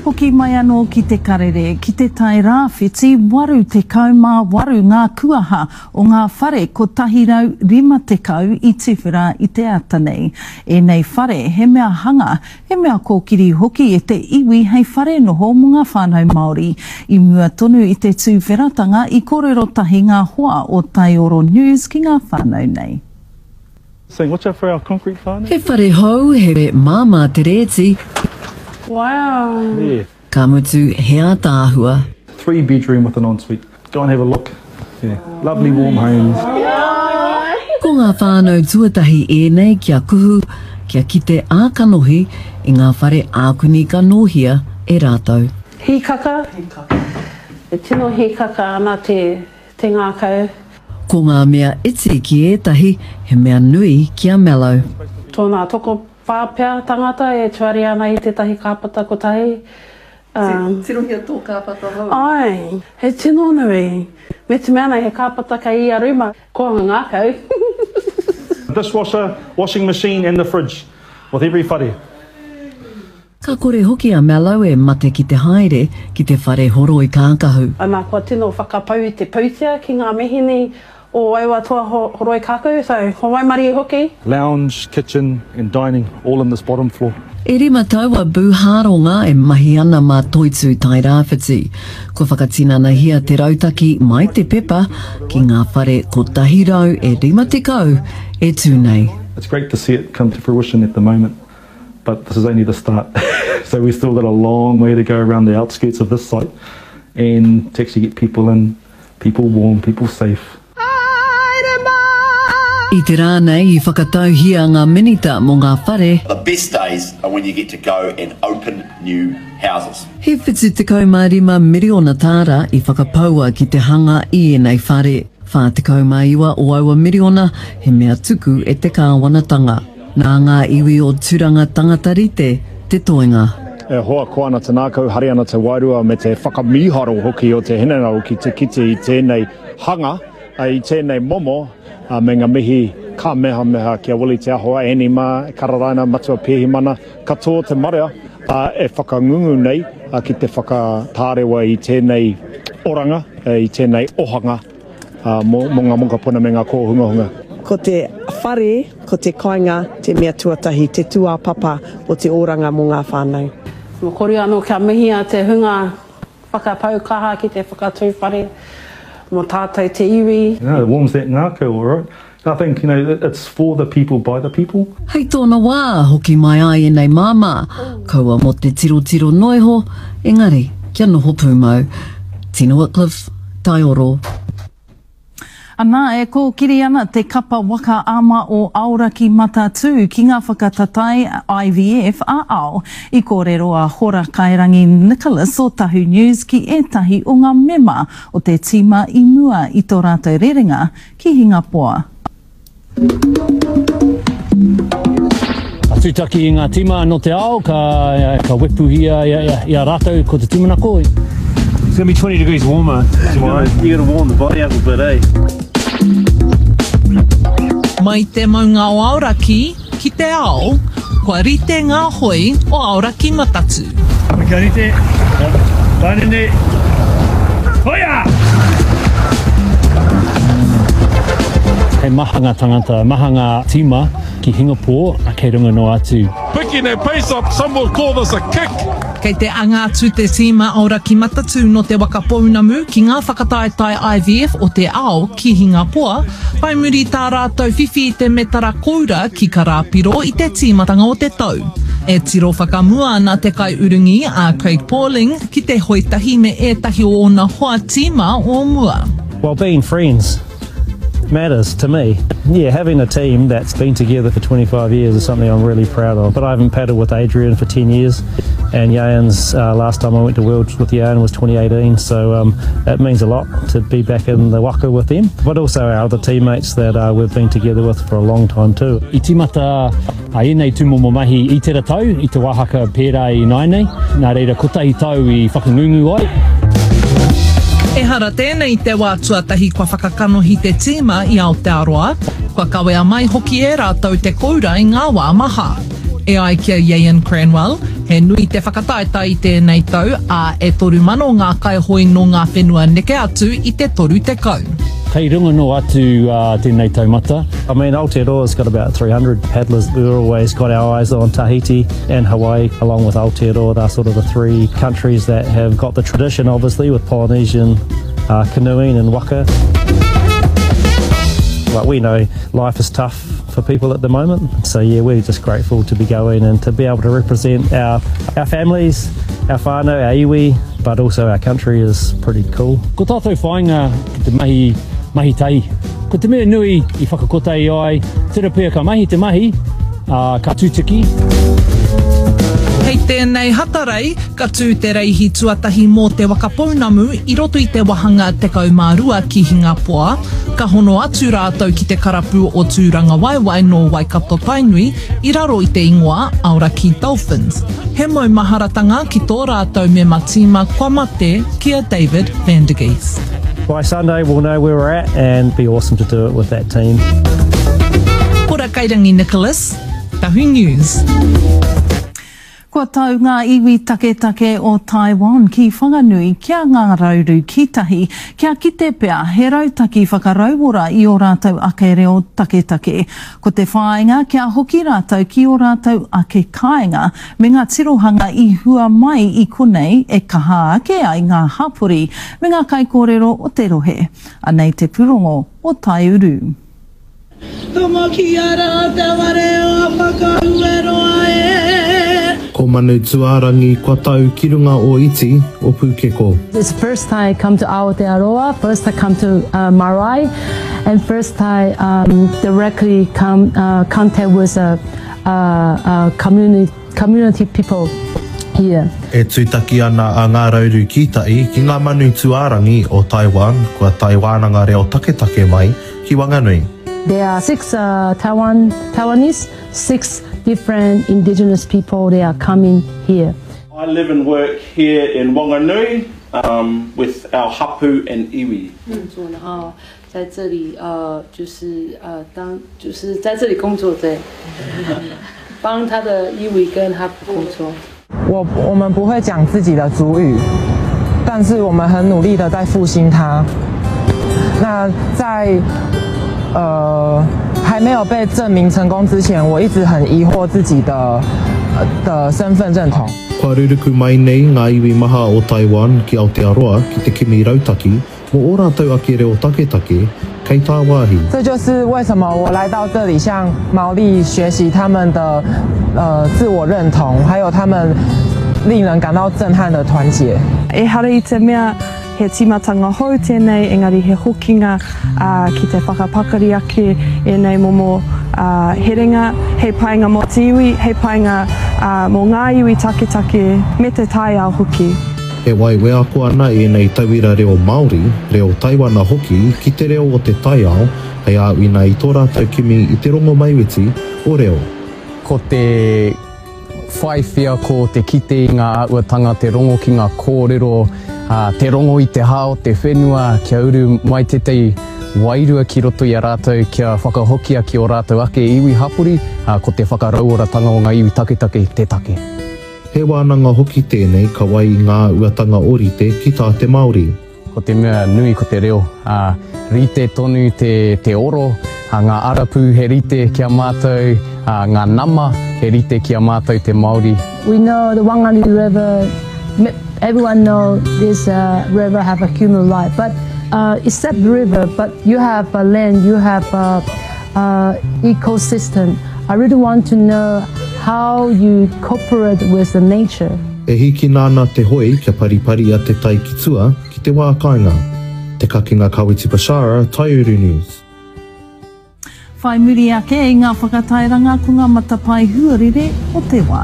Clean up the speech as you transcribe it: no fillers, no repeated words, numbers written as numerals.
Hoki mai anō ki te karere, ki te Tai Rāwhiti, 88 ngā kuaha o ngā whare 150 i tuwhera i te ata nei. Ēnei whare he mea hanga, he mea kōkiri hoki e te iwi hei whare noho mō ngā whānau Māori. I mua tonu i te tuwheratanga i kōrero tahi ngā hoa o Taioro News ki ngā whānau nei. Saying watch out for our concrete whānau. He whare hou, he māmā te rēti. Wow. Yeah. Ka mutu, he ātaahua. 3 bedroom with an ensuite. Go and have a look. Yeah. Lovely warm homes. Ko ngā whānau tuatahi ēnei kia kuhu, kia kite ā-kanohi i ngā whare ākuni ka nōhia e rātou. Hīkaka, E tino hīkaka ana te te ngākau. Ko ngā mea iti ki ētahi, he mea nui ki a Mello. Tōna tokowhā pea tangata e tuari ana i tētahi kāpata kotahi. Tirohia tō kāpata hou. Āe, he tino nui. Me te mea nei he kāpata kei ia rūma. Koanga ngākau. Dishwasher, washing machine and the fridge with every whare. Ka kore hoki a Mallow e mate ki te haere ki te whare horoi kākahu. Ana kua tino whakapau i te pūtea ki ngā mihini o aua toa horoi kākahu, so ko waimarie hoki. Lounge, kitchen and dining all in this bottom floor. E rima tau a Boo Hāronga e mahi ana mā Toitū Tairāwhiti. Kua whakatinanahia te rautaki mai te pepa ki ngā whare 150 e tū nei. It's great to see it come to fruition at the moment. But this is only the start. so we've still got a long way to go around the outskirts of this site and to actually get people in, people warm, people safe. I te rā nei i whakatauhia ngā minita mō ngā whare. The best days are when you get to go and open new houses. He 75 miriona tāra i whakapaua ki te hanga i ēnei whare. 49 o aua miriona he mea tuku e te kāwanatanga. Nā ngā iwi o Turanga tangata rite te toenga. E hoa koa ana te ngākau, hari ana te wairua me te whakamīharo hoki o te hinengaro ki te kite i tēnei hanga, i tēnei momo, me ngā mihi ka mehameha ki a Willie Te Aho, Annie mā, Kararaina, Matua Pēhimana, katoa te marea e whakangungu nei ki te whakatārewa i tēnei oranga, i tēnei ohanga. Mō ngā mokopuna me ngā kōhungahunga. Ko te whare, ko te kāinga te mea tuatahi, te tūāpapa o te oranga mō ngā whānau. Mō kore anō kia mihia te hunga whakapau kaha ki te whakatū whare mō tātou te iwi. You know, it warms that ngākau alright. I think, you know, it's for the people by the people. Hei tōna wā, hoki mai ai ēnei māmā, kaua mō te tirotiro noiho, engari kia noho pūmau. Tina Wickliffe, Taioro. Ana, e kōkiri ana te kapa waka ama o Aoraki Matatū ki ngā whakatatae IVF ā-ao. I kōrero a Hora Kairangi Nicholas o Tahu News ki ētahi o ngā mema o te tīma i mua i tō rātou rerenga ki Hingapoa. Ka tūtaki i ngā tīma nō te ao, ka, ka wepuhia i a rātou ko te tūmanako. It's gonna be 20 degrees warmer tomorrow. You gotta warm the body up a bit, eh? Mai te maunga o Aoraki ki te ao, kua rite ngā hoi o Aoraki Matatū. Kia rite, Tainene, hoia! He maha ngā tangata, maha ngā tīma ki Hingapore kei runga noa atu. Picking that pace up, some will call this a kick. Kei te anga atu te tīma Aoraki Matatū nō Te Waka Pounamu ki ngā whakataetae IVF o te ao ki Hingapoa, whai muri tā rātou whiwhi i te metara koura ki Karāpiro i te tīmatanga o te tau. E tiro whakamua ana te kaiurungi a Craig Pauling ki te hoe tahi me ētahi o ōna hoa tīma o mua. Well being friends matters to me. Yeah, having a team that's been together for 25 years is something I'm really proud of. But I haven't paddled with Adrian for 10 years, and Ieuan's uh, last time I went to Worlds with Ieuan was 2018, so um, it means a lot to be back in the waka with them. But also our other teammates that uh, we've been together with for a long time too. I tīmata A ēnei tūmomo mahi i tera tau, i te wāhaka pērā i nāianei, nā reira kotahi tau i whakangungu ai. Ehara tēnei i te wā tuatahi kua whakakanohi te tīma i Aotearoa, kua kawea mai hoki e rātou te koura i ngā wā maha. E ai ki a Ieuan Cranwell, He nui te whakataetae i tēnei tau, ā, e 3,000 ngā kaihoe nō ngā whenua neke atu i te 30. Kei runga noa atu tēnei taumata. I mean, Aotearoa's got about 300 paddlers. We've always got our eyes on Tahiti and Hawaii, along with Aotearoa. They're sort of the three countries that have got the tradition, obviously, with Polynesian uh, canoeing and waka. But we know life is tough for people at the moment. So yeah, we're just grateful to be going and to be able to represent our, our families, our whānau, our iwi, but also our country is pretty cool. Ko tātou whāinga ki te mahi, mahi tahi. Ko te mea nui i whakakotahi ai, tera pea ka mahi te mahi, ā, ka tutuki. Hei tēnei Hatarei, ka tū te reihi tuatahi mō Te Waka Pounamu i roto i te wahanga 12 ki Hingapoa. Ka hono atu rātou ki te karapu o Tūrangawaewae nō Waikato-Tainui i raro i te ingoa Aoraki Dolphins. He maumaharatanga ki tō rātou mema tīma kua mate ki a David van der Geest. By Sunday we'll know where we're at and be awesome to do it with that team. Ora Kairangi Nicholas, Tahu News. Kua tau ngā iwi taketake o Taiwan ki Whanganui kia ngā rauru ki tahi, kia kite pea he rautaki whakarauora i ō rātou ake reo taketake. Ko te whāinga kia hoki rātou ki ō rātou ake kāinga me ngā tirohanga i hua mai i konei e kaha ake ai ngā hapori me ngā kaikōrero o te rohe. Anei te pūrongo o Taiuru. Tomokia rā te whare o Whakaueroa e. Ko Manutuarangi kua tau ki runga o Iti, o Pukeko. It's first time come to Aotearoa, first time come to marae and first time directly come contact with a community community people here. E tūtaki ana a Ngā Rauru Kītahi ki ngā manu tūārangi o Taiwan kua tae wānanga reo taketake mai ki Wanganui. There are six Taiwan Taiwanese, six different indigenous people they are coming here. I live and work here in Wanganui um, with our hapu and iwi. 工作，然后在这里呃，就是呃，当就是在这里工作对，帮他的 iwi 跟 hapu 工作。我我们不会讲自己的族语，但是我们很努力的在复兴它。那在呃还没有被证明成功之前，我一直很疑惑自己的的身份认同。 Kua ruruku mai nei ngā iwi maha o Taiwan ki Aotearoa ki te kimi rautaki mō ō rātou ake reo taketake kei tāwāhi. 这就是为什么我来到这里向毛利学习他们的呃自我认同，还有他们令人感到震撼的团结。 Ehara i te mea he tīmatanga hou tēnei, engari he hokinga ki te whakapakari ake ēnei momo herenga, hei painga mō te iwi, hei painga mō ngā iwi taketake me te taiao hoki. E wai wheako ana ēnei tauira reo Māori, reo Taiwana hoki ki te reo o te taiao hei āwhina i tō rātou kimi i te rongomaiwhiti o reo. Ko te whai wheako, te kite i ngā āhuatanga, te rongo ki ngā kōrero, te rongo i te hā o te whenua kia uru mai tētahi wairua ki roto i a rātou kia whakahokia ki ō rātou ake iwi hapori, ko te whakarauoratanga o ngā iwi taketake te take. He wānanga hoki tēnei ka wai i ngā uatanga ōrite ki tā te Māori. Ko te mea nui ko te reo, ā, rite tonu te, te oro, ā, ngā arapū he rite ki a mātou, ā, ngā nama he rite ki a mātou te Māori. We know the Wanganui River, everyone know this uh, river have a human life, but uh, except river, but you have a land, you have a, a ecosystem. I really want to know how you cooperate with the nature. E hīkina ana te hoe kia pariparia te tai ki tua, ki te wā kāinga. Te Kakenga Kawiti Bashara, Taiuru News. Whai muri ake i ngā whakatairanga ko ngā matapae huarere o te wā.